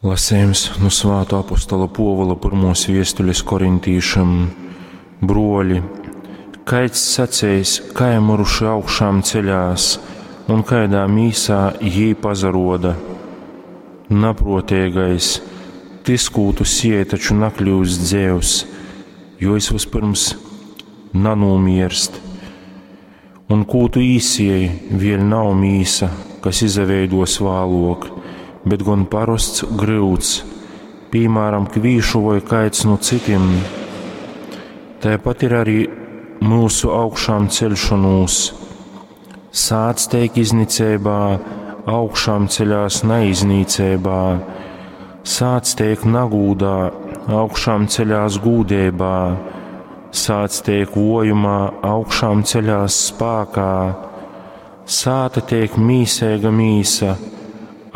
Lasejums nu Svātuo apostola Puovula pyrmuos viestulis korintīšim. Bruoli, kaids saceis, kai myruši augšām ceļās un kaidā mīsā jī pasaruoda? Napruoteigais, tys, kū tu sieji, taču nakļiust dzeivs, jo jis vyspyrms nanūmierst. Un kū tu īsieji, vēļ nav mīsa, kas izaveiduos vāluok, bet gon parosts gryuds, pīmāram, kvīšu voi kaids nu cytim. Taipat ir arī myusu augšām ceļšonūs. Sāts teik izniceibā, augšām ceļās naiznīceibā, sāts teik nagūdā, augšām ceļās gūdeibā, sāts teik vojumā, augšām ceļās spākā, sāta teik mīseiga mīsa,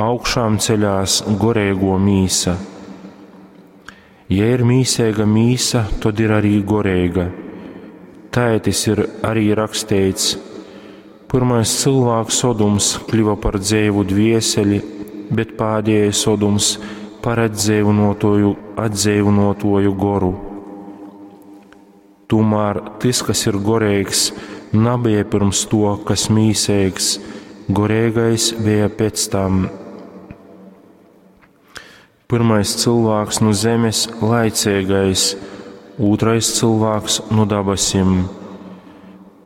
augšām ceļās goreigo mīsa. Ja ir mīseiga mīsa, tod ir arī goreiga. Tai tis ir arī raksteits. Pyrmais cylvāks Odums kļuva par dzeivu dvieseli, bet pādējais Odums par atdzeivynuotuoju, atdzeivynuotuoju goru. Tūmēr tys, kas ir goreigs, nabeja pirms to, kas mīseigs, goreigais bija pēc tam. Pirmais cylvāks nu zemes laicīgais, ūtrais cylvāks nu dabasim.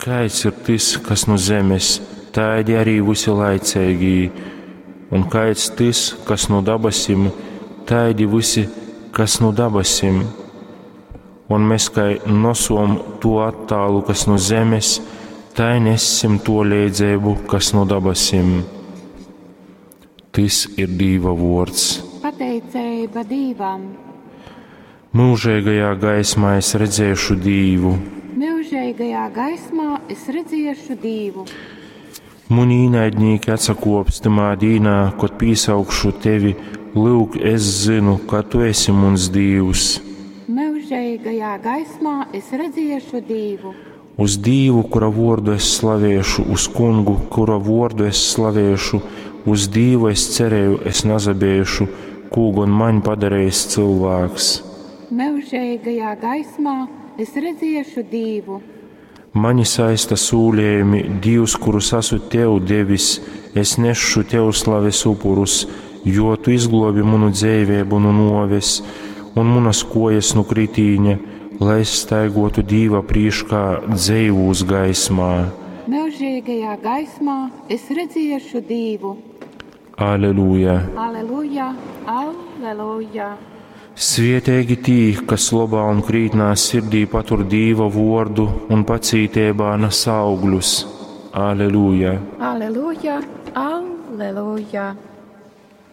Kaids ir tys, kas nu zemes, taidi arī visi laicīgī, un kaids tys, kas nu dabasim, taidi visi, kas nu dabasim. Un mēs kai nosom to attālu, kas nu zemes, tai nessim to leidzeibu, kas nu dabasim. Tys ir Dīva vuords. Pateiceiba Dīvam. Mūžīgajā gaismā es redzēšu Dīvu. Myužīgajā gaismā es redziešu Dīvu. Muni īnaidnīki atsakops tymā dīnā, kod pīsaukšu tevi, lyuk, es zinu, ka tu esi muns Dīvs. Myužīgajā gaismā es redziešu Dīvu. Uz Dīvu, kura vuordu es slavēšu, uz kungu, kura vuordu es slavēšu, uz Dīvu es cerēju, es nazabēšu, kū gon maņ padarējis cylvāks. Myužīgajā gaismā es redziešu Dīvu. Mani saista sūlējumi, Dīvs, kurus esmu tev devis, es nesšu tev slaves upurus, jo tu izglobi manu dzīvību no noves un manas kojas no kritīņa, lai es staigotu Dīva prīškā dzeivūs gaismā. Myužīgajā gaismā es redziešu Dīvu. Aleluja! Aleluja, aleluja! Svietīgi tī, kas lobā un krītnā sirdī patur Dīva vuordu un pacītībā nes augļus. Aleluja! Aleluja, aleluja!